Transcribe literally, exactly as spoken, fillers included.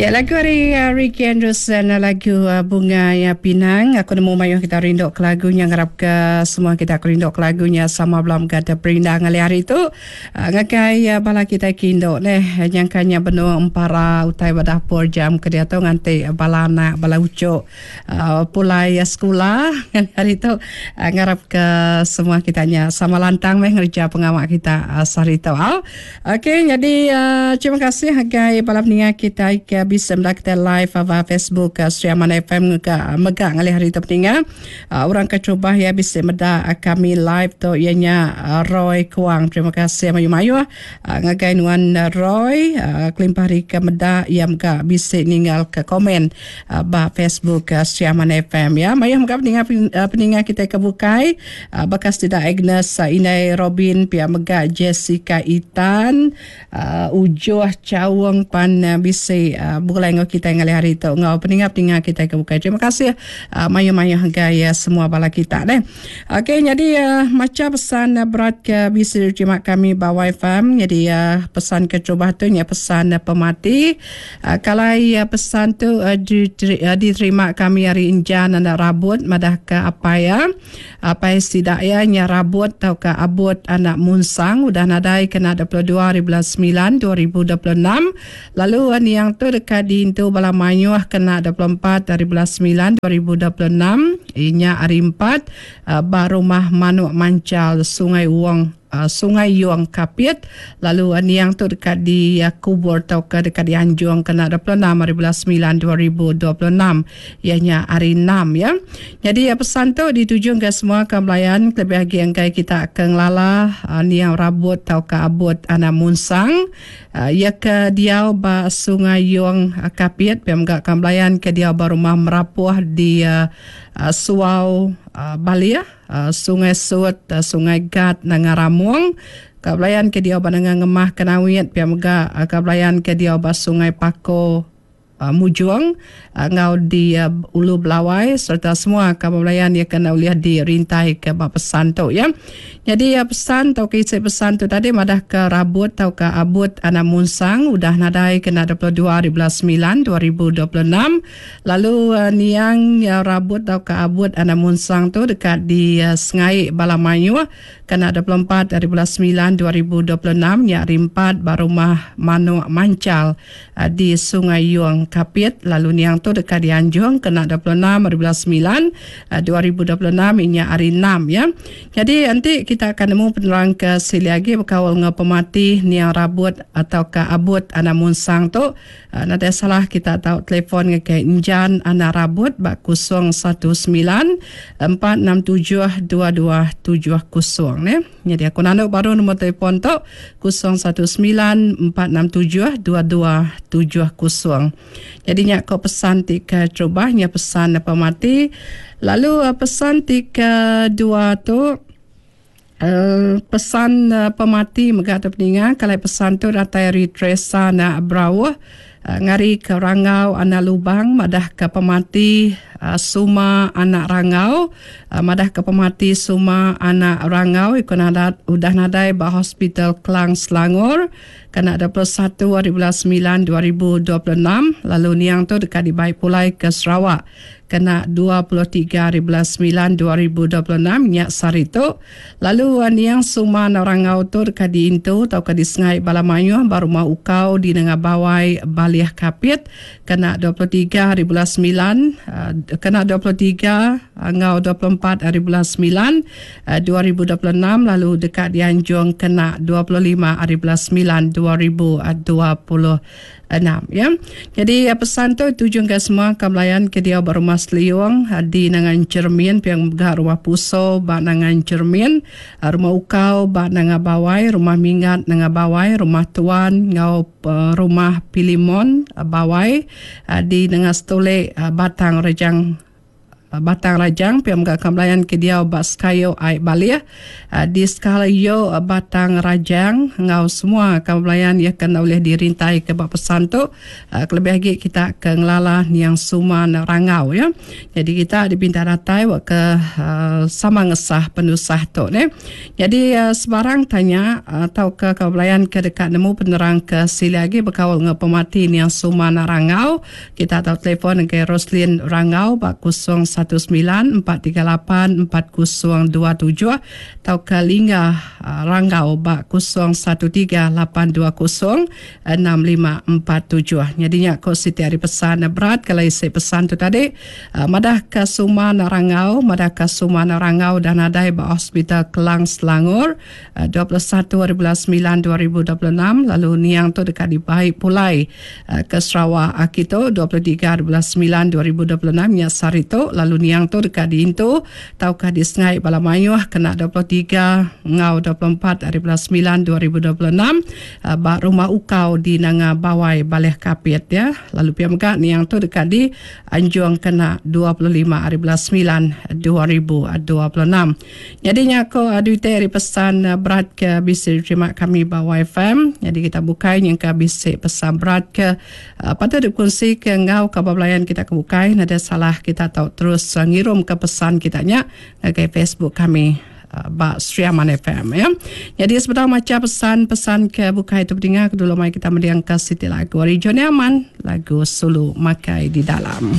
Ya, lagu ari uh, Ricky Anderson, lagu uh, Bunga ya Pinang. Aku nemu mayuh kita rindu ke lagu nya, ngarap ke semua kita rindu ke lagu nya sama belum gada perindang ngalih hari tu. Uh, ngagai uh, bala kita kindu neh nyangkanya benung empara utai ba dapur jam ke diatu nganti bala anak bala ucuk uh, pulai uh, sekula ngalih hari tu, uh, ngarap ke semua kita nya sama lantang meh ngereja pengawa kita uh, sehari tu. Uh. Okey, jadi uh, terima kasih ngagai bala peninga kita ke bisa meda kita live ba Facebook uh, Sri Aman F M ke mega ngalih hari tu peninga. Uh, orang ke cuba ya bisa meda uh, kami live tu ianya uh, Roy Kuang. Terima kasih mayu-mayu uh, ngagai nuan uh, Roy, uh, kelimpah hari ke meda ia mega bisa ninggal ke komen uh, ba Facebook uh, Sri Aman F M ya. Mayu mega peninga uh, peninga kita ke bukai uh, bekas tidak Agnes uh, Inai Robin pia mega Jessica Itan uh, Ujuh Cawang pan uh, bisa uh, bulai ngau kita ngalih hari tu ngau peninga-peninga kita ke bukai. Terima kasih uh, mayu-mayu hagai uh, semua bala kita deh. Okey, jadi uh, macam pesan uh, berat ke bisa diterima kami ba F M. Jadi uh, pesan ke cuba tu nya pesan uh, pemati. Uh, kalau uh, pesan tu uh, diteri, uh, diterima kami hari Injan anak rabut madah ke apa ya? Apa sidak ya nya rabut tau ke abut anak munsang udah nadai kena dua puluh dua hari bulan sembilan dua ribu dua puluh enam. Lalu uh, yang tu dekat diintu bala mayuh kena dua puluh empat hari bulan sembilan dua ribu dua puluh enam inya hari empat uh, ba rumah Manuk Mancal Sungai Wong uh, Sungai Yuang Kapit. Lalu uh, niang tu dekat di uh, kubur tau ke dekat di Anjung kena dua puluh enam hari bulan sembilan dua ribu dua puluh enam ianya hari enam ya. Jadi uh, pesan tu dituju ke semua ke melayan lebih lagi angkai kita ke ngelala uh, niang rabut tau ke abut anak munsang uh, ia ke diau ba Sungai Yuang uh, Kapit pem gak ke melayan ke diau ba rumah Merapuh di uh, uh, Suau uh, Balia uh, Sungai Sut uh, Sungai Gat Nangaramung ka belayan ke dia ba Nanga Ngemah Kenawit pia mega uh, ka belayan ke dia ba Sungai Pako uh, Mujung uh, ngau di uh, Ulu Belawai serta semua ka belayan dia kena uliah di rintai ke ba pesan tu ya. Jadi uh, pesan tau ke isi pesan tu tadi madah ke rabut tau ke abut anak munsang udah nadai kena dua puluh dua hari bulan sembilan dua ribu dua puluh enam. Lalu uh, niang uh, rabut tau ke abut anak munsang tu dekat di uh, Sengai Balamayu kena dua puluh empat hari bulan sembilan dua ribu dua puluh enam nya hari empat ba rumah Manuk Mancal uh, di Sungai Yuang Kapit. Lalu niang tu dekat di Anjung kena dua puluh enam hari bulan sembilan uh, dua ribu dua puluh enam inya hari enam ya. Jadi nanti kita akan nemu penerang ke sili lagi berkawal dengan pemati niang rabut atau ke abut anak munsang tu. Uh, nanti salah kita tahu telefon ke Injan anak rabut bak kosong satu sembilan empat enam tujuh dua dua tujuh kosong ne. Jadi aku nanduk baru nombor telefon tu kosong satu sembilan empat enam tujuh dua dua tujuh kosong. Jadi nyak kau pesan tiga cubahnya pesan pemati. Lalu pesan tiga dua tu Uh, pesan uh, pemati mega tu peninga kalau pesan tu datai ari Teresa nak Brauh uh, ngari ke Rangau anak Lubang madah ke pemati uh, Suma anak Rangau uh, madah ke pemati Suma anak Rangau ikut nadat udah nadai ba Hospital Klang Selangor kena dua puluh satu hari bulan sembilan dua ribu dua puluh enam. Lalu niang tu dekat dibai pulai ke Sarawak kena dua puluh tiga hari bulan sembilan dua ribu dua puluh enam nyak sari tu. Lalu niang Suman Rangau tu dekat diintu tau ke di Sengai Balamayuh baru mau ukau di Nengah Bawai Baliah Kapit kena dua puluh tiga hari bulan sembilan kena dua puluh tiga ngau dua puluh empat hari bulan sembilan dua ribu dua puluh enam. Lalu dekat di Anjung kena dua puluh lima hari bulan sembilan dua ribu dua puluh enam ya. Jadi pesan tu tujuan ke semua kemelayan ke dia berumah Seliung di Nangan Cermin piang megah rumah Puso ba Nangan Cermin rumah Ukau ba Nanga Bawai rumah Mingat Nanga Bawai rumah Tuan ngau rumah Pilimon Bawai di Nanga Stolek Batang Rejang Batang Rajang pia mega kaban belayan ke diau ba Sekayu Ai Balih di Sekayu Batang Rajang enggau semua kaban belayan iya ke enda ulih dirintai ke ba pesan tu kelebih agi kita ke ngelala niang Suman Rangau ya. Jadi kita dipinta datai wak ke sama ngesah penusah tu ne. Jadi sebarang tanya tauka kaban belayan ke deka nemu penerang ke silik agi bekaul enggau pemati niang Suman Rangau, kita tau telefon ngagai Roslin Rangau ba kosong satu semilan empat tiga lapan empat kosong dua tujuh tauka Lingga Rangau ba kosong satu tiga lapan dua kosong enam lima empat tujuh. Nyadi nya ko siti ari pesan berat kalau isi pesan tu tadi madah ka Suman Rangau, madah ka Suman Rangau dah nadai ba Hospital Kelang Selangor dua puluh satu hari bulan semilan dua ribu dua puluh enam lalu niang tu deka dibai pulai ke Sarawak kitu dua puluh tiga hari bulan semilan dua ribu dua puluh enam nya sehari tu lalu niang tu deka diintu tauka disengai bala mayuh kena dua puluh tiga enggau dua puluh empat hari bulan semilan dua ribu dua puluh enam ba Rumah Ukau di Nanga Bawai Baleh Kapit ya. Lalu pia mega niang tu deka dianjung kena dua puluh lima hari bulan semilan dua ribu dua puluh enam. Jadi nya ko duit ari pesan berat ke bisi diterima kami ba Y F M. Jadi kita bukai nyangka bisi pesan berat ke patut dikongsi ke enggau kaban belayan kita ke bukai. Nada salah kita tau terus ngirum ke pesan kita nya ngagai Facebook kami ba Sri Aman F M ya. Jadi sebentar maca pesan-pesan ke bukai tu berdinga dulu mai kita mendiang ke siti lagu ari Johnny Aman, lagu Sulu Makai di Dalam.